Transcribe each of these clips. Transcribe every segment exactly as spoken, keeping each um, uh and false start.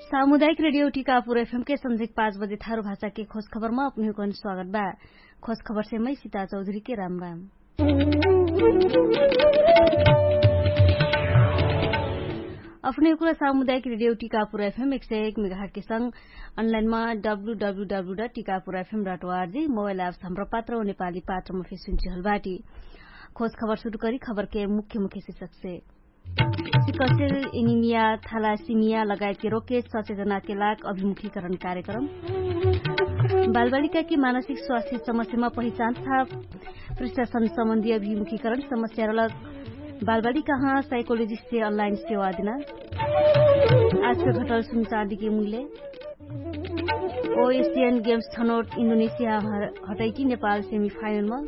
सामुदायिक रेडियो टिकापुर एफएम के संझिक पाँच बजे थारु भाषा के खोज खबरमा अपने हुकन स्वागत बा। खोज खबर से मै सिता चौधरी के राम राम। अपने हुकन सामुदायिक रेडियो टिकापुर एफएम एक सय एक मेगाहट के संग अनलाइनमा W W W dot Tikapur FM dot ORG mobile apps Hamro Patro नेपाली पात्रमा फेसुन चिहल बाटी। खोज खबर सुरु करी खबर के मुख्य मुख्य शिक्षक से। सिकसेल एनिमिया थालासिमिया लगायत के रोके सचेतना के लाग अभिमुखीकरण कार्यक्रम। बालबालिका के मानसिक स्वास्थ्य समस्यामा पहिचान तथा प्रशासन सम्बन्धी अभिमुखीकरण समस्या रलक बालबालिका हाँ साइकोलोजिस्ट से अनलाइन सेवा दिना। आज के घटल सुनचाँदी के मुल्य। ओ एसियन गेम्स छनोट इन्डोनेसिया हटैटी नेपाल सेमिफाइनलमा।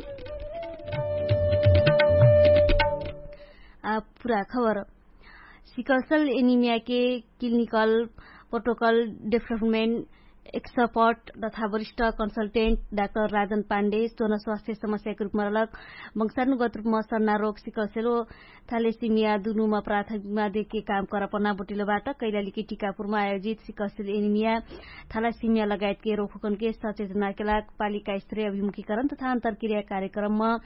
आ पुरा खबर। सिकलसेल एनिमिया के क्लिनिकल प्रोटोकल डेभलपमेन्ट एक्सपर्ट तथा वरिष्ठ कन्सल्टेन्ट डाक्टर राजन पाण्डे सोन स्वास्थ्य समस्याको रूपमा रलक वंशानुगत रूपमा सर्ना रोग सिकलसेल ओ थालेसिमिया दुनुमा प्राथमिकमा देके काम करपना बोटिलो बाट कैलालीके टिकापुरमा आयोजित सिकलसेल एनिमिया थालासिमिया लगायतके रोगहुकनके सचेतनाके लाग पालिका स्त्रीय अभिमुखीकरण तथा अन्तरक्रिया कार्यक्रममा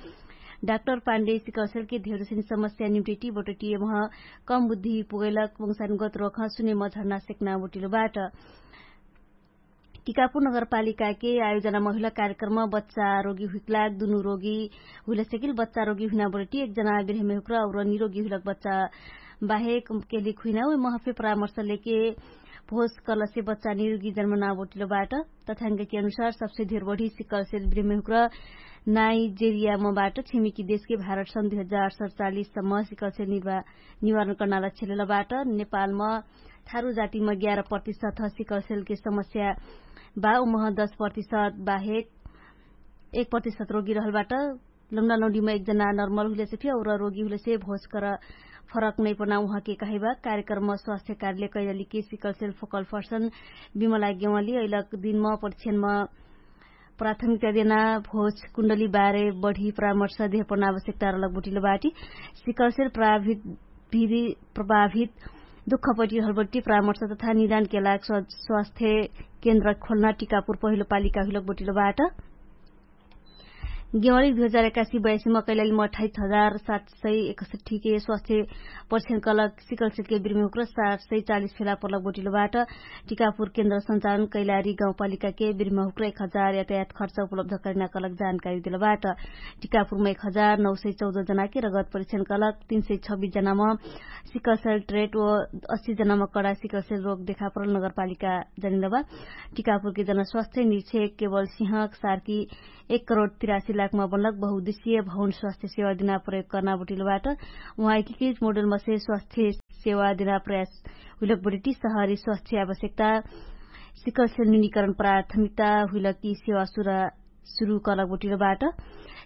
डाक्टर पाण्डे सिकलसेलके धेरसिन समस्या निम्टेटी बोटटियमह कम बुद्धि पुगैलक वंशानुगत रोगह सुनेम झर्ना सेक्ना बोटिलो बाट। टिकापुर नगरपालिकाके आयोजनामा हुइला कार्यक्रममा बच्चा रोगी हुइकलाग दुनु रोगी हुइला सेकिल बच्चा रोगी हुइना बोटटी एक जना बिरेहमेहुक्र और निरोगी हुइलक बच्चा बाहेक केलिक हुइना उइ महफे परामर्श लेके भोज कलसे बच्चा निरोगी जन्म ना बोटिलो बाट। तथ्यांकके अनुसार सबसे धेर बढी सिकलसेल बिरेहमेहुक्र नाइजेरियामा बाट छिमेकी देशके भारत सन् दुई हजार सडचालिससम्म सिकलसेल निवारण कर्नाला छेलेला बाट। नेपालमा थारु जातिमा ग्यार प्रतिशत सिकलसेलके समस्या बा उमह दस प्रतिशत बाहेक एक प्रतिशत रोगी रहलबाट। लौना लौडीमा एक जना नर्मल हुलेसे फि और रोगी हुलेसे भोज कर फरक नैपना उहाँके कहेबा। कार्यक्रममा स्वास्थ्य कार्यले कैलालीके सिकलसेल फोकल फर्सन बिमला गेवाली अइलक दिनमा परीक्षणमा प्राथमिकता देना भोज कुण्डली बारे बढी परामर्श देहपना आवश्यकता रहलक बोटिलो बाटी। सिकलसेल प्रभावित दुःखपट्टि हलपट्टि परामर्श तथा निदानके लाग स्वास्थ्य केन्द्र खोल्ना टिकापुर पहिलो पालिका हुइलक बोटिलो बाट। गेवाली दुई हजार एकासी बयासीमा कैलालीमा अठाइस हजार सात सय एकसठीके स्वास्थ्य परीक्षण कलक सिकलसेलके बिर्मेहुक्र सात सय चालिस फेला पर्लक बोटिलो बाट। टिकापुर केन्द्र सञ्चालन कैलारी गाउँपालिकाके बिर्मेहुक्र एक हजार यातायात खर्च उपलब्ध करिना कलक जानकारी दिलो बाट। टिकापुरमा एक हजार नौ सय चौध जनाके रगत परीक्षण कलक तीन सय छब्बिस जनामा सिकलसेल ट्रेट ओ अस्सी जनामा कडा सिकलसेल रोग देखापरल नगरपालिका जनिलो बा। टिकापुरके जनस्वास्थ्य निरीक्षक केवल सिंहक सारकी एक करोड तिरासी लाखमा बनलक बहुउद्देश्य भवन स्वास्थ्य सेवा दिना प्रयोग कर्ना बोटिलो बाट। उहाँ एकीकृत मोडलमा से स्वास्थ्य सेवा दिना प्रयास हुइलक बोटिटी सहरी स्वास्थ्य आवश्यकता सिकलसेल न्यूनीकरण प्राथमिकता हुइलक कि सेवा सुरा सुरु कलक बोटिलो बाट।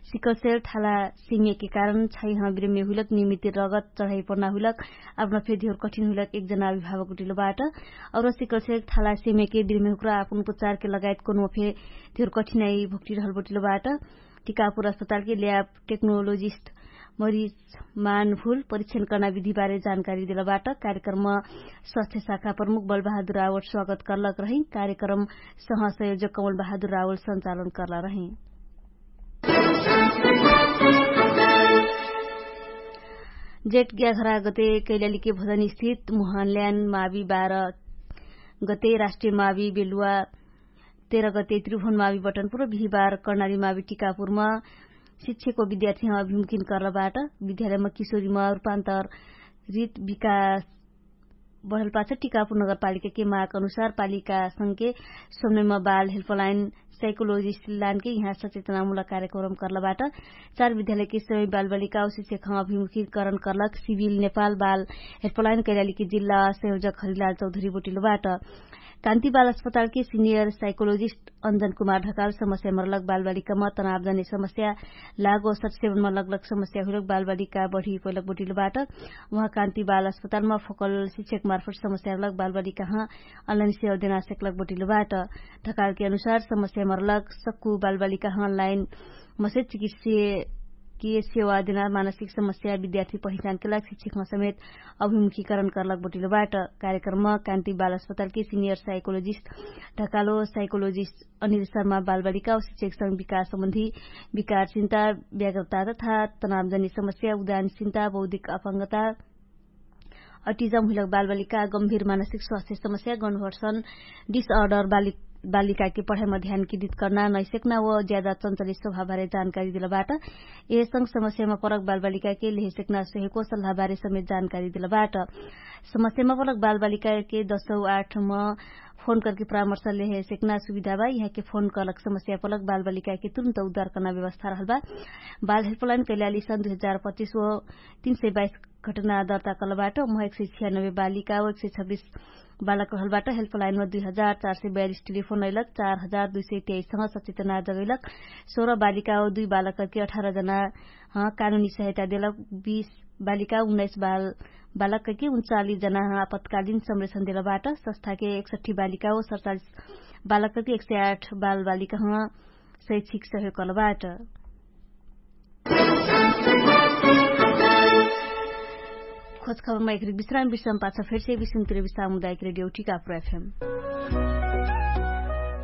सिकलसेल थाला सेमियाके कारण छाइह बिरेमे हुइलक निमित्त रगत चढाइ पर्ना हुइलक आप्ना फेर धेर कठिन हुइलक एक जना अभिभावक बोटिलो बाट। और सिकलसेल थाला सेमियाके बिरेमे हुक्रा आपुन उपचारके लगायत कोनो फेर धेर कठिनाइ भुक्टिरहल बोटिलो बाट। टिकापुर अस्पतालके ल्याब टेक्नोलोजिस्ट मरिज मानफुल परीक्षण कर्ना विधिबारे जानकारी देला बाट। कार्यक्रममा स्वास्थ्य शाखा प्रमुख बलबहादुर रावल स्वागत कर्लक रही। कार्यक्रम सहसंयोजक कमलबहादुर रावल सञ्चालन कर्ला रही। जेट ग्याघरा गते कैलालीके भजन स्थित मुहानल्यान मावी बाह्र गते राष्ट्रिय मावी बेलुवा तेह्र गते त्रिभुवन मावी बटनपुर बिहिबार कर्णाली मावी टिकापुरमा शिक्षको विद्यार्थीमा अभिमुखिन कर्लबाट विद्यालयमा किशोरीमा रूपान्तर रित विकास बढलपाछ टिकापुर नगरपालिकाके माग अनुसार पालिकासँगके सोमनैमा बाल हेल्पलाइन साइकोलोजिस्ट लानके यहाँ सचेतनामुलक कार्यक्रम कर्लबाट। चार विद्यालयके सबै बालबालिका औ शिक्षकमा अभिमुखिकरण कर्लक सिभिल नेपाल बाल हेल्पलाइन कैलालीके जिल्ला संयोजक हरिलाल चौधरी बोटिलोबाट। कान्ति बाल अस्पतालके सिनियर साइकोलोजिस्ट अञ्जन कुमार ढकाल समस्या मरलक बालबालिकामा तनाव जने समस्या लागो सटसेवनमा लगलक समस्या हुइलक बालबालिका बढी पैलक बोटिलोबाट। उहाँ कान्ति बाल अस्पतालमा फोकल शिक्षक मार्फट समस्या रलक बालबालिकाहाँ अनलाइन सेवा देना सेकलक बोटिलोबाट। ढकालके अनुसार समस्या मरलक सक्कु बालबालिकाहाँ अनलाइन मसे चिकित्सीय के सेवा देना मानसिक समस्या विद्यार्थी पहिचानके लाग शिक्षकमा समेत अभिमुखीकरण करलक बटिलो बाट। कार्यक्रममा कान्ति बाल अस्पतालके सिनियर साइकोलोजिस्ट ढकालो साइकोलोजिस्ट अनिल शर्मा बालबालिका औ शिक्षक संग विकास सम्बन्धी विकार चिन्ता, व्याग्रता तथा तनावजन्य समस्या, उदान चिन्ता, बौद्धिक अपंगता, अटिजम हुइलक बालबालिका गम्भीर मानसिक स्वास्थ्य समस्या गन्वर्सन डिसअर्डर बालिकाके पढाइमा ध्यान केन्द्रित कर्ना नैसेक्ना व ज्यादा चन्चलित स्वभावबारे जानकारी दिलबाट। यहे संग समस्यामा परक बालबालिकाके लेहेसेक्ना सोहेको सल्लाहबारे समेत जानकारी दिलबाट। समस्यामा परक बालबालिकाके दसौ आठमा फोन करके परामर्श लेहेसेक्ना सुविधा बा। यहाँके फोन करलक समस्या परक बालबालिकाके तुरुन्त उद्धार कर्ना व्यवस्था रहल बा। बाल हेल्पलाइन कैलाली सन दुई हजार पच्चिस व तीन सय बाइस घटना दर्ता कलबाट। महक सय छियानबे बालिका व एक सय छब्बिस बालक रहलबाट। हेल्पलाइनमा दुई हजार चार सय बयालिस टेलिफोन अइलक, चार हजार दुई सय तेइस सँग सचेतना जगैलक। सोह्र बालिका व दुई बालक करके अठार जना कानुनी सहायता देलक। बीस बालिका उन्नाइस बालक करके उन्चालिस जना आपतकालीन संरक्षण देलबाट। संस्थाके एकसट्ठी बालिका व सडचालिस बालक करके एक सय आठ बालबालिका शैक्षिक सहयोग कलबाट। खोजखबरमा एकरिक विश्राम विश्राम पाछ फेर्से विश्रामतिर विश्राम हुँदा एक रेडियो टिकापुर एफएम।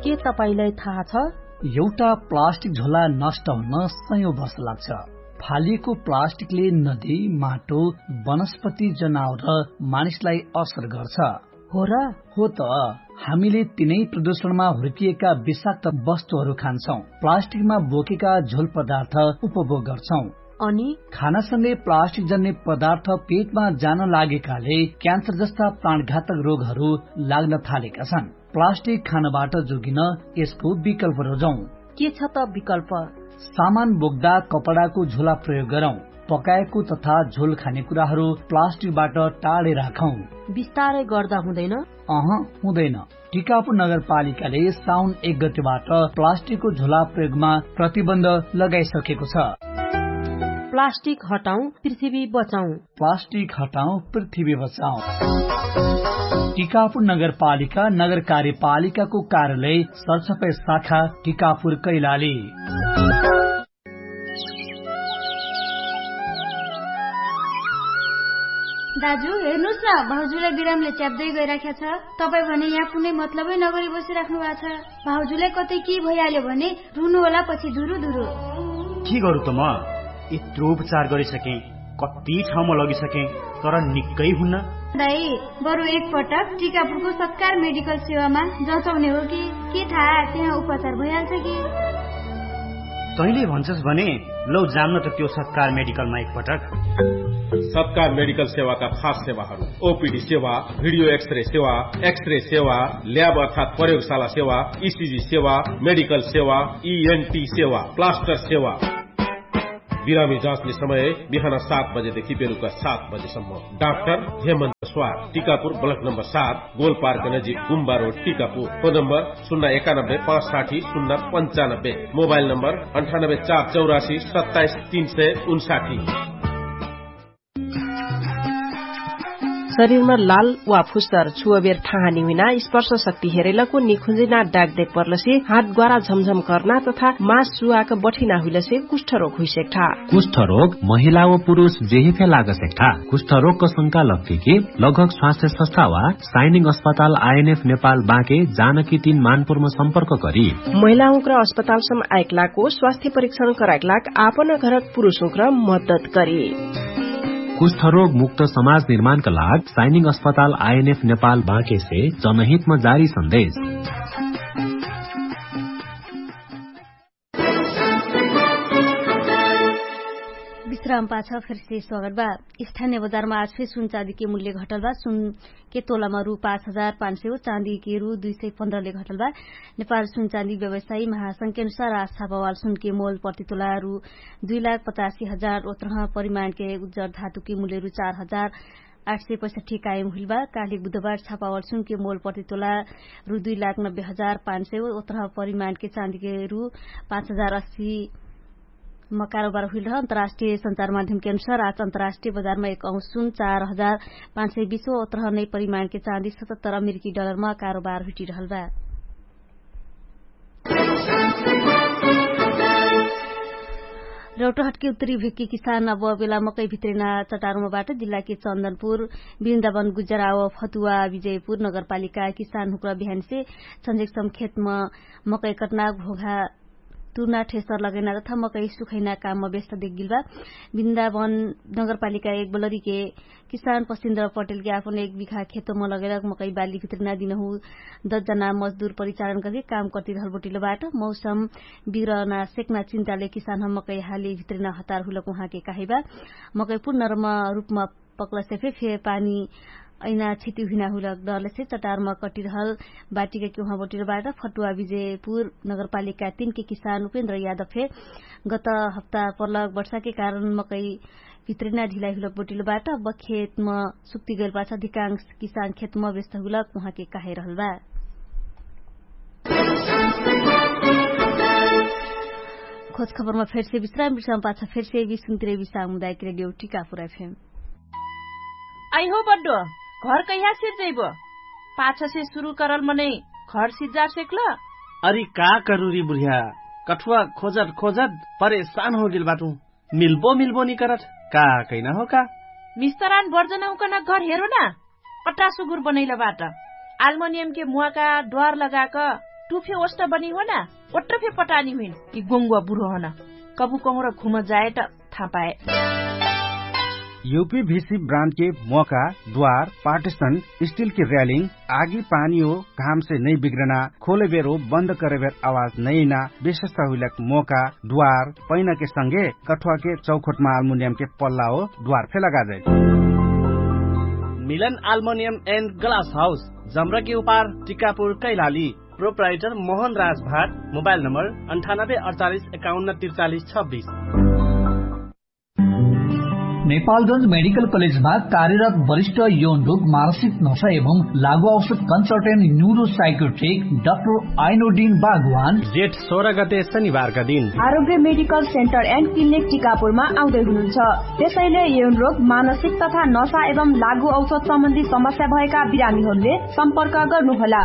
के तपाईंलाई थाहा छ? एउटा प्लास्टिक झोला नष्ट हुन सयौं वर्ष लाग्छ। फालिएको प्लास्टिकले नदी, माटो, वनस्पति, जनावर र मानिसलाई असर गर्छ। हो र? हो त। हामीले तिनै प्रदूषणमा हुर्किएका विषाक्त वस्तुहरू खान्छौं, प्लास्टिकमा बोकेका झोल पदार्थ उपभोग गर्छौं। अनि खानासँगै प्लास्टिक जन्ने पदार्थ पेटमा जान लागेकाले क्यान्सर जस्ता प्राणघातक रोगहरू लाग्न थालेका छन्। प्लास्टिक खानबाट जोगिन यसको विकल्प रोजौं। के छ त विकल्प? सामान बोक्दा कपडाको झोला प्रयोग गरौं। पकाएको तथा झोल खाने कुराहरू प्लास्टिकबाट टाढे राखौं। बिस्तारै गर्दा हुँदैन? अह, हुँदैन। टिकापुर नगरपालिकाले साउन एक गतिबाट प्लास्टिकको झोला प्रयोगमा प्रतिबन्ध लगाइसकेको छ। प्लास्टिक हटाउँ, पृथ्वी बचाउँ। प्लास्टिक हटाउँ, पृथ्वी बचाउँ। टिकापुर नगरपालिका, नगर कार्यपालिकाको कार्यालय, सरसफाइ शाखा, टिकापुर, कैलाली। दाजु, हेर्नुस् न, भाउजूलाई बिरामले च्याप्दै गइराख्या छ। तपाईँ भने यहाँ कुनै मतलबै नगरी बसिराख्नु भएको छ। भाउजूलाई कतै के भइहाल्यो भने रुनु होला पछि धुरु धुरु। के गरौँ त म? यत्रो उपचार गरिसकेँ, कति ठाउँमा लगिसकेँ, तर निकै हुन्न। दाइ, बरु एकपटक टिकापुरको सत्कार मेडिकल सेवामा जचाउने हो कि, के थाहा, त्यहाँ उपचार भइहाल्छ कि। तैँले भन्छस् भने लौ जान्न त त्यो सत्कार मेडिकलमा एकपटक। सत्कार मेडिकल सेवाका खास सेवाहरू: ओपिडी सेवा, भिडियो एक्सरे सेवा, एक्सरे सेवा, ल्याब अर्थात् प्रयोगशाला सेवा, इसिजी सेवा, मेडिकल सेवा, इएनटी सेवा, प्लास्टर सेवा। बिरामी जाँच्ने समय बिहान सात बजेदेखि बेलुका सात बजेसम्म। डाक्टर हेमन्त स्वार, टिकापुर, ब्लक नम्बर सात, गोलपार्क नजिक, गुम्बा रोड, टिकापुर। फोन नम्बर शून्य एकानब्बे पाँच साठी शून्य पन्चानब्बे। मोबाइल नम्बर अन्ठानब्बे चार चौरासी सत्ताइस तीन सय उन्साठी। शरीरमा लाल वा फुस्सर छुवबेर ठाहानी हुइना, स्पर्श शक्ति हेरैलको निखुन्जिना डाक देख पर्लसे, हात ग्वारा झमझम कर्ना तथा मास सुवाक बठिना हुइलसे कुष्ठरोग हुइसेक्ठा। कुष्ठरोग महिला व पुरुष जेहे फे लागसेक्ठा। कुष्ठरोगक शंका लग्के कि लगभग स्वास्थ्य संस्था वा साइनिङ अस्पताल आइएनएफ नेपाल बाँके जानकी तीन मानपुरमा सम्पर्क करी। महिलाहुँक्र अस्पतालसम आइक लाको स्वास्थ्य परीक्षण कराइक लाग आपन घरक पुरुषहुँक्र मद्दत करी। कुष्ठरोग मुक्त समाज निर्माणका लाग साइनिङ अस्पताल आइएनएफ नेपाल बाँकेसे जनहितमा जारी सन्देश। विश्राम पाछ फेरसे स्वागत बा। स्थानीय बजारमा आज फेर सुन चाँदीके मूल्य घटल बा। सुनके तोलामा रु पाँच हजार पाँच सय हो, चाँदीके रु दुई सय पन्ध्रले घटल बा। नेपाल सुन चाँदी व्यवसायी महासंघके अनुसार आज छापावाल सुनके मोल प्रतितोला रु दुई लाख पचासी हजार ओत्रह, परिमाणके उज्जर धातुके मूल्य रु चार हजार आठ सय पैसठी कायम हुइल बा। काली बुधबार छापावाल सुनके मोल प्रतितोला रु दुई लाख नब्बे हजार पाँच सय ओत्रह, परिमाणके चाँदीके रु पाँच हजार अस्सी मा कारोबार हुइल रह। अन्तर्राष्ट्रिय सञ्चार माध्यमके अनुसार आज अन्तर्राष्ट्रिय बजारमा एक औँस सुन चार हजार पाँच सय बिस ओत्रह नै परिमाणके चाँदी सतहत्तर अमेरिकी डलरमा कारोबार हुइटिरहल बा। रौटहटके उत्तरी भेक्के किसान अब बेला मकै भित्रेना चटारमा बाट जिल्लाके चन्दनपुर, बिन्दावन गुजराव फतुवा विजयपुर नगरपालिका किसान हुक्र बिहानसे छन्जेकसम खेतम मकै कटना घोघा तुर्ना ठेसर लगैना तथा मकै सुखैना कामम व्यस्त देखगिल बा। बिन्दावन नगरपालिका एक बलरीके किसान पसिन्द्र पटेलके आपन एक बिखा खेतम लगैलक मकै बाली भित्रेना दिनहु दस जना मजदुर परिचालन करके काम कर्तिरहल बोटिल बाट। मौसम बिग्रना सेक्ना चिन्ताले किसान हम मकै हाली भित्रेना हतार हुलक उहाँके काहिबा। मकै पुर्नरमा रुपमा पक्लसे फे फे पानी ऐना छिति हुइना हुलक डरलेसे चटारमा कटिरहल बाटिका कि उहाँ बोटिल बाट। फटुवा विजयपुर नगरपालिका तीनके किसान उपेन्द्र यादव फे गत हप्ता पर्लक वर्षाके कारण मकै भित्रेना ढिलाइ हुलक बोटिल बाट। बखेतम सुक्ति गैल पाछ अधिकांश किसान खेतम व्यस्त हुलक उहाँके काहे रहल बा। खोज खबरमा फेरसे विश्राम विश्राम पाछ फेरसे विश्राम तिरे विश्राम मुदायक रेडियो टिका पुरा फेम। आइहो बड्डो, घर कैहा सिर्जैबो? पाछसे सुरु करल मनै घर सिर्जार सेक्ल? अरि का करुरी बुढिया, कठुवा खोजत खोजत परेशान होगेल बाटु। मिल्बो मिल्बो निकरत का? कैना हो का? मिस्तरान बर्जन उकन घर हेरो ना? पट्टा सुगुर बनैल बाट। आल्मोनियमके मुवाका द्वार लगाक टुफे ओष्ट बनी हो ना? ओट्ट फे पटानी हुइन कि गोङ्गुवा बुढो हन। कबु कहुँर घुम जाए त थापाए। युपी भिसी ब्रान्डके मोका द्वार पार्टिसन स्टिलके र्यालिङ आगी पानी हो घामसे नै बिग्रना खोलेबेर हो बन्द करेबेर आवाज नैना विशेषता हुइलक मोका द्वार पैनाके संगे कठुवाके चौखोटमा आल्मुनियमके पल्ला हो द्वार फे लगाजै। मिलन आल्मुनियम एन्ड ग्लास हाउस जम्रकी उपार टिकापुर कैलाली। प्रोप्राइटर मोहन राज भाट। मोबाइल नम्बर अन्ठानब्बे अडचालिस एकाउन्न त्रिचालिस छब्बिस। नेपालगंज मेडिकल कलेजमा कार्यरत वरिष्ठ यौन रोग मानसिक नशा एवं लागु औषध कन्सल्टेन्ट न्युरो साइकोट्रिक डाक्टर आइनोडिन बागवान जेठ सोह्र गते शनिबारका दिन आरोग्य मेडिकल सेन्टर एन्ड क्लिनिक टिकापुरमा आउँदै हुनुहुन्छ। त्यसैले यौन रोग मानसिक तथा नशा एवं लागु औषध सम्बन्धी समस्या भएका बिरामीहरूले सम्पर्क गर्नुहोला।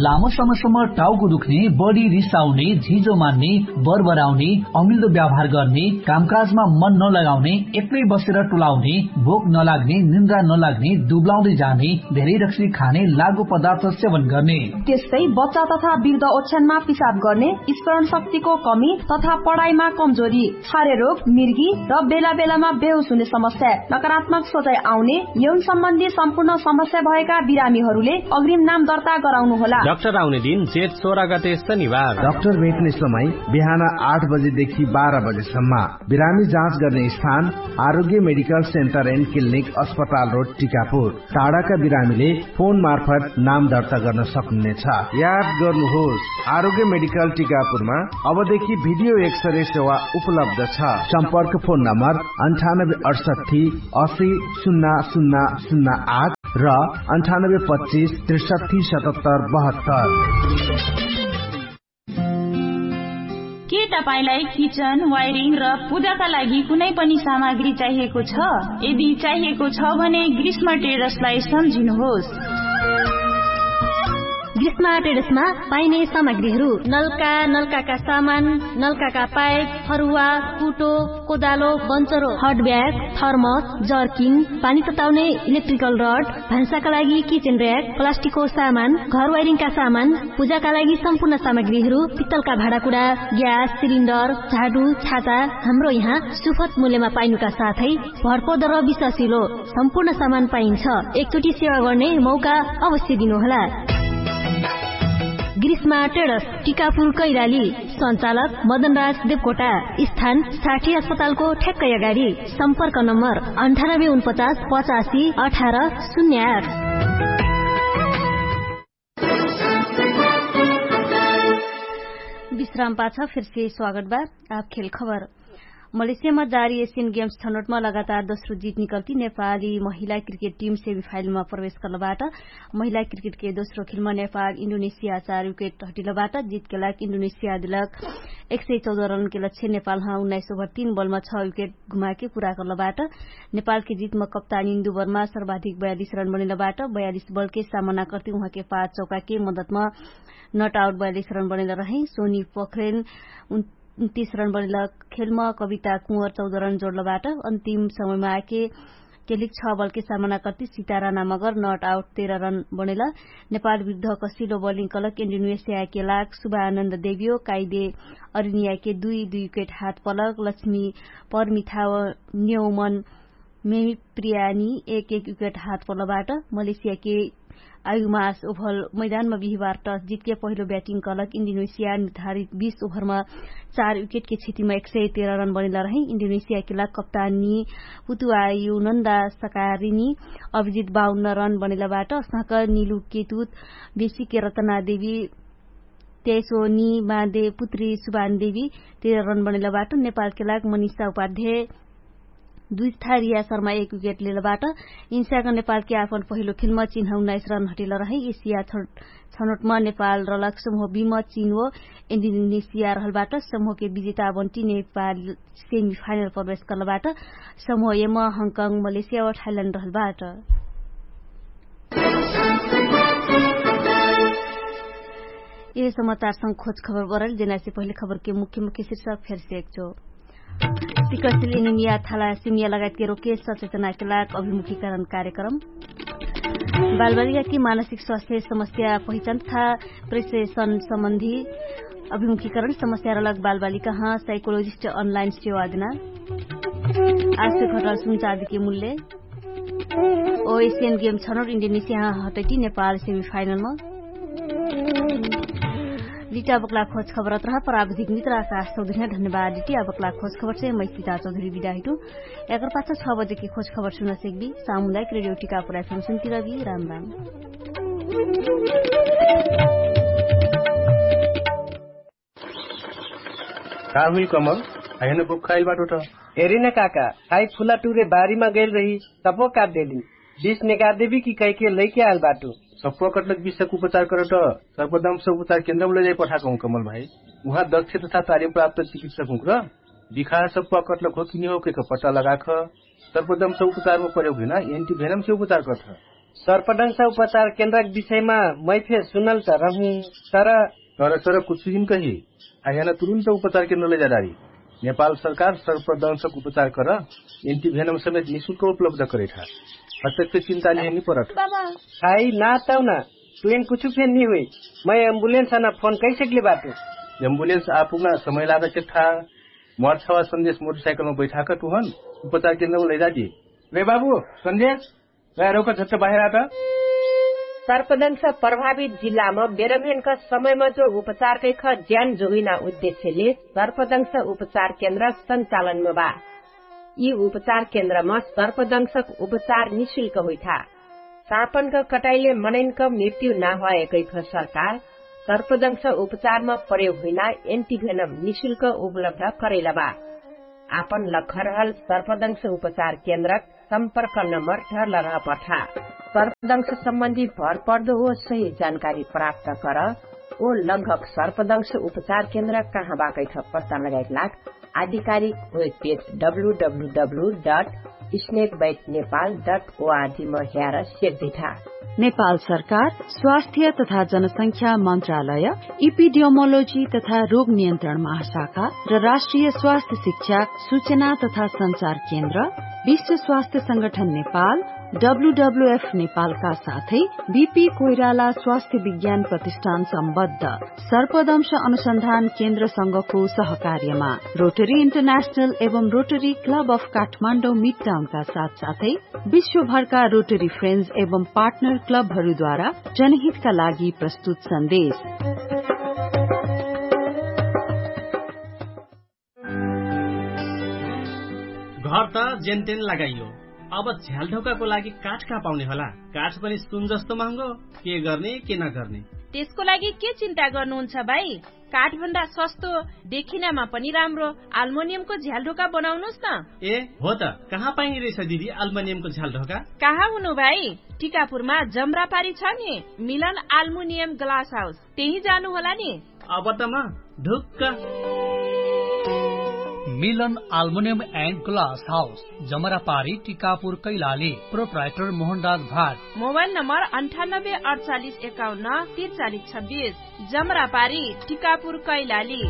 लामो समयसम्म टाउको दुख्ने, बढी रिसाउने, झिजो मान्ने, बरबराउने, अमिल्दो व्यवहार गर्ने, कामकाजमा मन नलगाउने, एक्लै बसेर टुलाउने, भोक नलाग्ने, निन्द्रा नलाग्ने, दुब्लाउँदै जाने, धेरै रक्सी खाने, लागु पदार्थ सेवन गर्ने। त्यस्तै बच्चा तथा वृद्ध ओछ्यानमा पिसाब गर्ने, स्मरण शक्तिको कमी तथा पढाइमा कमजोरी, छारे रोग, मिर्गी र बेला बेलामा बेहोस हुने समस्या, नकारात्मक सोचाइ आउने, यौन सम्बन्धी सम्पूर्ण समस्या भएका बिरामीहरूले अग्रिम नाम दर्ता गराउनु होला। डाक्टर आउने दिन जेठ सोह्र गते शनिबार। डाक्टर भेट्ने समय बिहान आठ बजेदेखि बाह्र बजेसम्म। बिरामी जाँच गर्ने स्थान आरोग्य मेडिकल सेन्टर एन्ड क्लिनिक अस्पताल रोड टिकापुर। टाढाका बिरामीले फोन मार्फत नाम दर्ता गर्न सक्नुहुनेछ। याद गर्नुहोस्, आरोग्य मेडिकल टिकापुरमा अबदेखि भिडियो एक्सरे सेवा उपलब्ध छ। सम्पर्क फोन नम्बर अन्ठानब्बे अठसट्ठी असी सुन्ना सुन्ना सुन्ना आठ र अन्ठानब्बे पच्चिस त्रिसट्ठी सतहत्तर बहत्तर। के तपाईंलाई किचन वायरिङ र पूजाका लागि कुनै पनि सामग्री चाहिएको छ? यदि चाहिएको छ भने ग्रीष्म टेडर्सलाई सम्झिनुहोस्। ग्रीष्म टेडर्समा पाइने सामग्रीहरू नलका, नलकाका सामान, नलकाका पाइप, फरुवा, कुटो, कोदालो, बन्चरो, हट ब्याग, थर्मस, जर्किन, पानी तताउने इलेक्ट्रिकल रड, भान्साका लागि किचेन र्याक, प्लास्टिकको सामान, घर वाइरिङका सामान, पूजाका लागि सम्पूर्ण सामग्रीहरू, पित्तलका भाँडाकुडा, ग्यास सिलिन्डर, झाडु, छाता, हाम्रो यहाँ सुफत मूल्यमा पाइनुका साथै भरपर्दो र विश्वासिलो सम्पूर्ण सामान पाइन्छ। एकचोटि सेवा गर्ने मौका अवश्य दिनुहोला। ग्रीष्मा टेडस, टिकापुर कैलाली। सञ्चालक मदनराज देवकोटा। स्थान साठी अस्पतालको ठ्याक्कै अगाडि। सम्पर्क नम्बर अन्ठानब्बे उनपचास पचासी अठार शून्य आठ। विश्राम पाछ फेरसे स्वागत बा। आप खेल खबर। मलेसियामा जारी एसियन गेम्स छनौटमा लगातार दोस्रो जित निकल्ती नेपाली महिला क्रिकेट टिम सेमिफाइनलमा प्रवेश गर्लबाट। महिला क्रिकेटके दोस्रो खेलमा नेपाल इन्डोनेसिया चार विकेट हटिलबाट। जितके लाग इन्डोनेसिया दिलक एक सय चौध रनके लक्ष्य नेपालमा उन्नाइस ओभर तीन बलमा छ विकेट घुमाके पुरा गर्लबाट। नेपालके जितमा कप्तान इन्दु वर्मा सर्वाधिक बयालिस रन बनैलबाट। बयालिस बलके सामना कर्ती उहाँके पाँच चौकाके मदतमा नट आउट बयालिस रन बनैल रहे। सोनी पोखरेन उन तीस रन बनेल। खेलमा कविता कुँवर चौध रन जोडलबाट अन्तिम समयमा आके केलिक छ बलके सामना कर्ति सितारा नामगर नट आउट तेह्र रन बनेल। नेपाल विरुद्ध कसिलो बलिङ कलक इन्डोनेसियाके लाग सुभानन्द देवियो काइदे अरिनियाके दुई दुई विकेट हात पलक लक्ष्मी परमिथाव न्यौमन मेमिप्रियानी एक एक विकेट हात पलबाट मलेसियाके आयुमास ओभर मैदानमा बिहिबार टस जितके पहिलो ब्याटिङ कलक इन्डोनेसिया निर्धारित बीस ओभरमा चार विकेटके क्षतिमा एक सय तेह्र रन बनेला रहै। इन्डोनेसियाके लाग कप्तानी पुतुवायु नन्दा सकारिनी अभिजित बाउन्न रन बनेलाबाट सहक निलु केतुत बेसीके रतनादेवी तेसो नि मादे पुत्री सुभानदेवी तेह्र रन बनेलाबाट नेपालके लाग मनिषा उपाध्याय दुई थारिया शर्मा एक विकेट लेलबाट इन्स्याक नेपालके आपन पहिलो खेलमा चिन्ह उन्नाइस रन हटेल रहै। एसिया छनोटमा नेपाल रलक समूह बिम चिन्ह इन्डोनेसिया रहलबाट समूहके विजेता बन्टी नेपाल सेमिफाइनल प्रवेश कर्लबाट समूह एम हङकङ मलेसिया वा थाइल्यान्ड रहलबाट। यह समाचारसँग खोज खबर बरल जेनासे पहिले खबरके मुख्य मुख्य शिर्षक फेरसे एकचो सिकसिल इनिमिया थाला सिमिया लगायतके रोके सचेतनाके लाग अभिमुखीकरण कार्यक्रम बालबालिकाकी मानसिक स्वास्थ्य समस्या पहिचान तथा प्रेसेसन सम्बन्धी अभिमुखीकरण समस्या रलक बालबालिका ह साइकोलोजिस्ट अनलाइन सेवा देना आश्य घटल सुनचाँदीके मूल्य ओ एसियन गेम छनौट इन्डोनेसिया हटैटी नेपाल सेमिफाइनलमा। लिटा बक्ला खोज खबर अत्रह प्राविधिक मित्र आकाश चौधरी धन्यवाद लिटी आ बक्ला खोज खबर से मै सीता चौधरी बिदा हिटु। एकर पाछ छ बजेकी खोज खबर सुन सेक्बी सामुदायिक रेडियो टिका पुराइ फंक्सन तिरबी राम राम। का हुइल कमल? अहेन बुक खाइल बाटो त। हेरिन काका, खाइ फुला टुरे बारीमा गइल रही, सप्पो काट देली। बिस नेगार देबी कि कहिके लैके आइल बाटो। सप्पो कटलक बिसक उपचार करत सर्पदंश उपचार केन्द्रमा लैजाइ पठाकहुँ कमल भाइ। उहाँ दक्ष तथा तालिम प्राप्त चिकित्सक हुँक्र बिखा सप्पो कटलक हो कि निहो केक पत्ता लगाख सर्पदंश उपचारमा प्रयोग हुइना एन्टिभेनमसे उपचार करत। सर्पदंश उपचार केन्द्रक विषयमा मै फे सुनल त रहु। तर तर तर कुछु जिन कही आह्याना तुरुन्त उपचार केन्द्र लैजाडारी। नेपाल सरकार सर्पदंशक उपचार कर एन्टिभेनम समेत निशुल्क उपलब्ध करैठा। हतक फे चिन्ता लिहे निपरत। बाबा। खाइ ना तौना। तुहेन कुछु फे निहुइ। मै एम्बुलेन्स अना फोन कैसेकले बाटु। एम्बुलेन्स आपुग्ना समय लाग चेक था। मर्छवा सन्देश मोटरसाइकलमा बैठाक तुहन उपचार केन्द्रमा लैजाडी। रे बाबु, सन्देश। गैरौका झट्ट बाहेर आत। सर्पदंश प्रभावित जिल्लामा बेरम्हेनका समयमा जो उपचार कैख ज्यान जोगिना उद्देश्यले सर्पदंश उपचार केन्द्र सञ्चालनमा बा। यि उपचार केन्द्रमा सर्पदंशक उपचार निशुल्क हुइठा। सापनक कटाइले मनैनक मृत्यु नाहवाए कैख सरकार सर्पदंश उपचारमा प्रयोग हुइना एन्टिभेनम निशुल्क उपलब्ध करैलबा। आपन लखरहल सर्पदंश उपचार केन्द्रक सम्पर्क नम्बर ढर्ल रहपठा। सर्पदंश सम्बन्धी भरपर्दो ओ सही जानकारी प्राप्त कर। ओ लगभग सर्पदंश उपचार केन्द्र कहाँ बाकैठ पत्ता लगाइक लाग आधिकारिक web page W W W dot snakebite Nepal dot ORG म ह्यार सेक दिठा। नेपाल सरकार स्वास्थ्य तथा जनसंख्या मन्त्रालय, इपिडियोमोलोजी तथा रोग नियन्त्रण महाशाखा र राष्ट्रिय स्वास्थ्य शिक्षा, सूचना तथा सञ्चार केन्द्र, विश्व स्वास्थ्य संगठन नेपाल, डब्लुडब्लुएफ नेपालका साथै बिपी कोइराला स्वास्थ्य विज्ञान प्रतिष्ठान सम्बद्ध सर्पदंश अनुसन्धान केन्द्रसँगको सहकार्यमा रोटरी इन्टरनेशनल एवं रोटरी क्लब अफ काठमाडौँ मिडटाउनका साथसाथै विश्वभरका रोटरी फ्रेन्ड्स एवं पार्टनर क्लबहरूद्वारा जनहितका लागि प्रस्तुत सन्देश। घर त जेनतेन लगाइयो, अब झ्यालढोकाको लागि काठ कहाँ पाउने होला? काठ पनि सुन जस्तो महँगो। के गर्ने के नगर्ने? त्यसको लागि के चिन्ता गर्नुहुन्छ भाइ? काठभन्दा सस्तो देखिनमा पनि राम्रो आल्मोनियमको झ्यालढोका बनाउनुस् न। ए हो त, कहाँ पाइने रहेछ दिदी आल्मोनियमको झ्यालढोका? कहाँ हुनु भाइ? टिकापुरमा जमरापारी छ नि, मिलन आल्मुनियम ग्लास हाउस, त्यही जानु होला नि। अब त म ढुक्क। मिलन आल्मुनियम एन्ड ग्लास हाउस, जमरापारी, टिकापुर, कैलाली। प्रोप्राइटर मोहनराज भाट। मोबाइल नम्बर अन्ठानब्बे अडचालिस एकाउन्न तिरचालिस छब्बिस। जमरापारी, टिकापुर, कैलाली।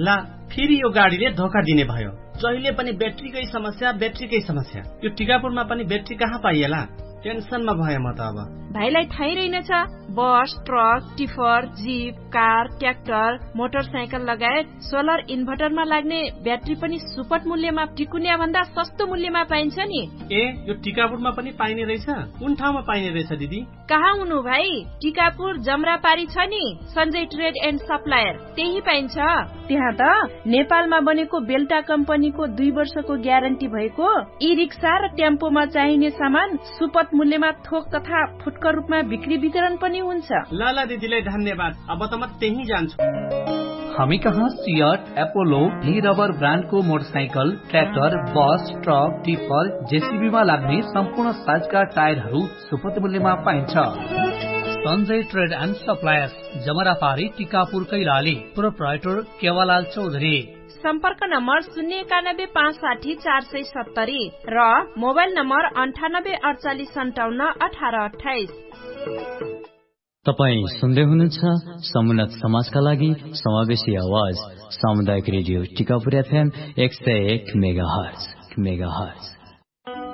ला, फेरि यो गाडीले धोका दिने भयो। जहिले पनि ब्याट्रीकै समस्या, ब्याट्रीकै समस्या। यो टिकापुरमा पनि ब्याट्री कहाँ पाइएला? टेन्सनमा भए म त अब। भाइलाई थाहै रहेनछ, बस, truck, tipper, zip, car, tractor, motorcycle लगायत सोलर इन्भर्टरमा लाग्ने ब्याट्री पनि सुपट मूल्यमा टिकुन्या भन्दा सस्तो मूल्यमा पाइन्छ नि। ए, यो टिकापुरमा पनि पाइने रहेछ? कुन ठाउँमा पाइने रहेछ दिदी? कहाँ हुनु भाइ? टिकापुर जमरापारी छ नि, सञ्जय ट्रेड एन्ड सप्लायर, त्यही पाइन्छ। त्यहाँ त नेपालमा बनेको बेल्टा कम्पनीको दुई वर्षको ग्यारेन्टी भएको ई रिक्सा र टेम्पोमा चाहिने सामान सुपट मूल्यमा थोक तथा फुटकर रूपमा बिक्री वितरण पनि हुन्छ। ल ल दिदीलाई धन्यवाद। अब त म त्यही जान्छु। हामी कहाँ सियट, एपोलो, डी रबर ब्रान्डको मोटरसाइकल, ट्र्याक्टर, बस, ट्रक, टिफर, जेसिबीमा लाग्ने सम्पूर्ण साइजका टायरहरू सुपट मूल्यमा पाइन्छ। सञ्जय ट्रेड एन्ड सप्लायर्स, जमरापारी, टिकापुर, कैलाली। प्रोप्राइटर केवालाल चौधरी। सम्पर्क नम्बर शून्य एकानब्बे पाँच साठी चार सय सत्तरी र मोबाइल नम्बर अन्ठानब्बे अडचालिस सन्ताउन्न अठार अट्ठाइस। तपाईँ सुन्दै हुनुहुन्छ समुन्नत समाजका लागि समावेशी आवाज, सामुदायिक रेडियो टिकापुर एफएम एक सय एक मेगाहर्ज।